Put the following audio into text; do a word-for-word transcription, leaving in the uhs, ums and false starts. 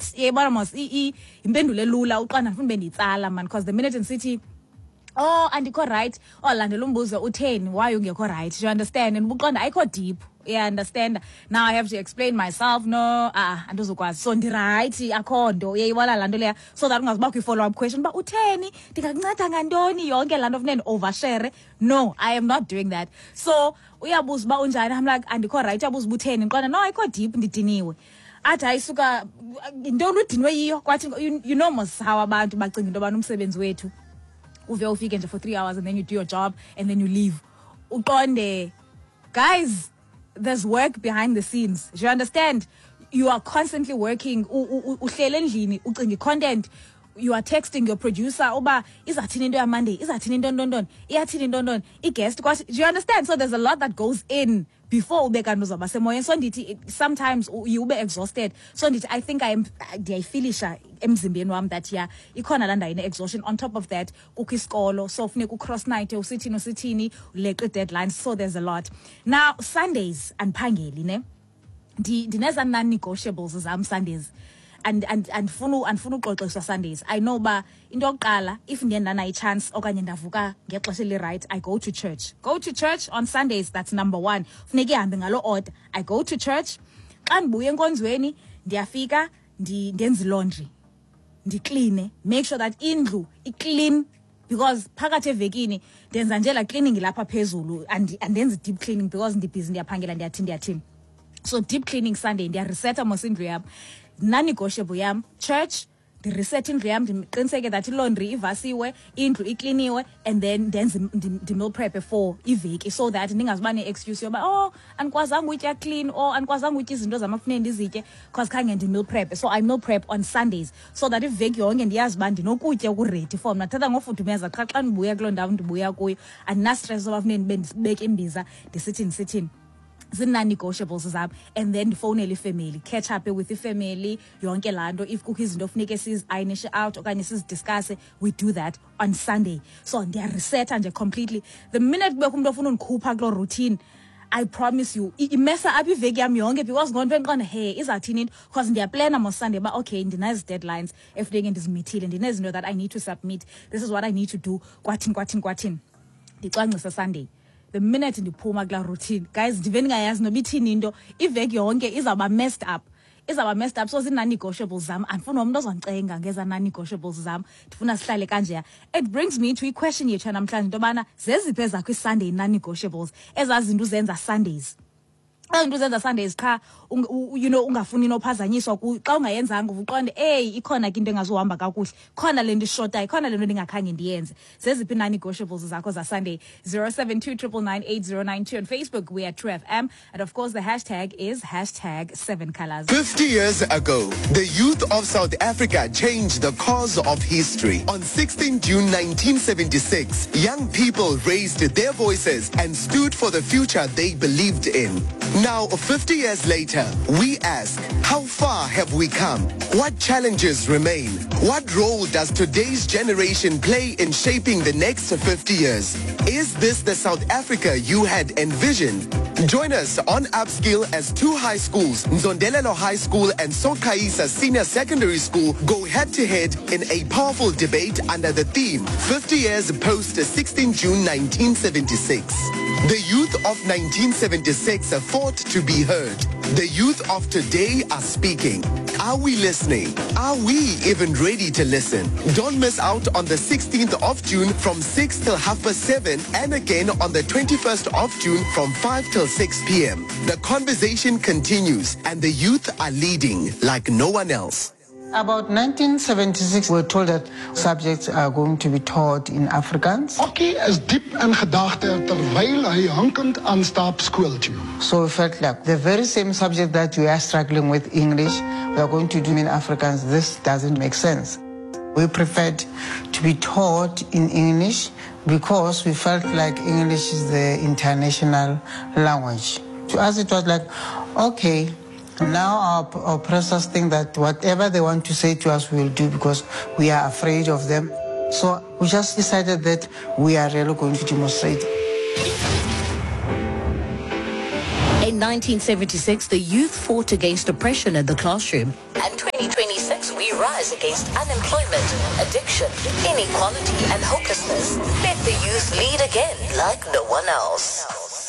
short. Yebona mos impendulo elula uqonda ndifuna ube ndiyitsala man, because the minute ndisithi oh andikho right, oh landela umbuzo utheni why ungekho right, you understand? And uqonda ayikho deep, yeah, understand? Now I have to explain myself. No, ah andizokwazi, so ndi-right, akho nto, uyayibona laa nto leya, so that ungazubakho i-follow up question uba utheni, ndingakunceda ngantoni, yonke laa nto funeke ndi-overshare. No, I am not doing that. So uyabuza uba unjani, I'm like andikho right, uyabuza uba utheni, ndiqonda no ayikho deep, ndidiniwe. Athi ayisuka yintoni udinwe yiyo, kwathi you know mos how abantu bacinga into yobana umsebenzi wethu uve ufike nje for three hours and then you do your job and then you leave. Uqonde, guys, there's work behind the scenes. Do you understand? You are constantly working. Uhlele endlini ucinga content. You are texting your producer uba izathini into ya Monday, izathini into ntontoni, iyathini into ntontoni, i-guest. Do you understand? So there's a lot that goes in before ube kanti uzawuba semoyeni. So ndithi sometimes you ube exhausted. So ndithi I think I am ndiyayifilisha emzimbeni wam that yeah ikhona laa ndawo ine-exhaustion. On top of that kukho isikolo, so funeka ucross night usithini usithini uleqe deadlines, so there's a lot. Now Sundays andiphangeli ne, ndineza non-negotiables zam Sundays. And and andifuna andifuna uxoxiswa Sundays. I know ba into yokuqala if ndiye ndanayo i-chance okanye ndavuka ngexesha eli-right, I go to church. Go to church on Sundays, that's number one. Funeka ihambe ngaloo order. I go to church. Xa ndibuya enkonzweni ndiyafika ndenze laundry, ndikline, make sure that indlu i-clean, because phakathi evekini ndenza nje la cleaning lapha phezulu, andenzi deep cleaning because ndibhizi ndiyaphangela ndiyathini ndiyathini. So deep cleaning Sunday, ndiyareseta mos indlu yam. Non-negotiable yam church, ndireset indlu yam, ndiqiniseke that ilaundry ivasiwe, indlu ikliniwe, and then ndenze ndi-meal prep for iveki, so that ndingazuba ne-excuse yoba oh andikwazanga utya clean or andikwazanga utya izinto zam afuneke ndizitye because khange ndi-meal prep. So I meal prep on Sundays so that iveki yonke ndiyazi uba ndinokutya okuready for mna. Thatha ngofudumeza qha xa ndibuya kuloo ndawo ndibuya kuyo, andinastress soba funeke ndibe ndibeke imbiza ndisithini ndisithini. Zii-non-negotiables zam. And then ndifowunele ifamily, catch up with ifamily, yonke laa nto. If kukho izinto funeke sizi-ironishe out okanye sizidiscusse, we do that on Sunday. So ndiyareseta nje completely. The minute kubekho umntu ofuna undikhupha kuloo routine, I promise you, imesa up iveki yam yonke, because ngonto endiqonda hey izawuthini into, because ndiyaplana mo Sunday uba okay ndinezi deadlines efuneke ndizimithile, ndinezinto that I need to submit, this is what I need to do, kwathini kwathini kwathini. Ndicwangcisa Sunday. The minute ndiphuma kulaa routine, guys, ndive ndingayazi noba ithini into, iveki yonke izawuba messed up. Izawuba messed up. So zii-non-negotiables zam, andifuni nomntu ozondicenga ngeza non-negotiables zam, ndifuna sihlale kanjeya. It brings me to i-question yethu yanamhlanje into yobana zeziphi ezakho i-Sunday non-negotiables, ezaa zinto uzenza Sundays. Ezi zinto uzenza Sundays qha, you know, ungafuni nophazanyiswa xa ungayenzanga uqonde eyi ikhona ke into engazuhamba kakuhle, khona le nto ishotayo, khona le nto ndingakhange ndiyenze. Zeziphi non-negotiables zakho za Sunday? zero seven two triple nine eight zero nine two. On Facebook we are True F M, and of course the hashtag is hashtag seven colors. fifty years ago, the youth of South Africa changed the course of history. On sixteenth June nineteen seventy-six, young people raised their voices and stood for the future they believed in. Now, fifty years later, we ask, how far have we come? What challenges remain? What role does today's generation play in shaping the next fifty years? Is this the South Africa you had envisioned? Join us on Upskill as two high schools, Nzondelelo High School and Sokaisa Senior Secondary School, go head-to-head in a powerful debate under the theme, fifty years post sixteenth June nineteen seventy-six. The youth of nineteen seventy-six fought to be heard. The youth of today are speaking. Are we listening? Are we even ready to listen? Don't miss out on the sixteenth of June from six till half past seven, and again on the twenty-first of June from five till six p m The conversation continues, and the youth are leading like no one else. About nineteen seventy-six, we were told that subjects are going to be taught in Afrikaans. Okkie is diep in gedagte terwyl hy hinkend aanstap skool toe. So we felt like the very same subject that we are struggling with, English, we are going to do in Afrikaans. This doesn't make sense. We preferred to be taught in English because we felt like English is the international language. To us, it was like, okay, now our oppressors think that whatever they want to say to us, we will do because we are afraid of them. So we just decided that we are really going to demonstrate. In nineteen seventy-six, the youth fought against oppression in the classroom. And twenty twenty-six, rise against unemployment, addiction, inequality and hopelessness. Let the youth lead again like no one else.